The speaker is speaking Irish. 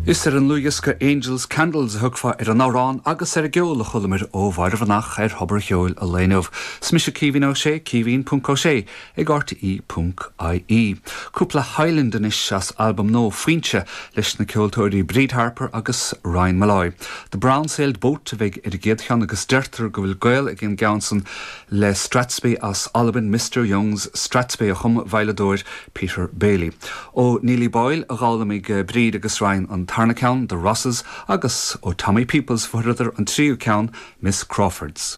Is ar an ndlúthdhiosca Angels Candles a thiocfá ar an amhrán agus ar an gceol a chualamar ó Mháire Bhreathnach ar Thobar an Cheoil an lae inniu. Is mise Caoimhín Ó Sé, caoimhín ponc Ó Sé ag rte ponc ie. Cúpla Highland anois as albam nua Foinse leis na ceoltóirí Bríd Harper agus Ryan Molloy. The Brown Sailed Boat a bheidh ar an gcéad cheann agus deirtear go bhfuil gaol ag an gceann san le Strathspey as Albain, Mister Young's Strathspey a chum an veidhleadóir Peter Bailey. Ó Neilly Boyle a d'fhoghlaimigh Bríd agus Ryan an tarna ceann, The Rosses, agus ó Tommy Peoples a fuaireadar an tríú ceann, Miss Crawford's.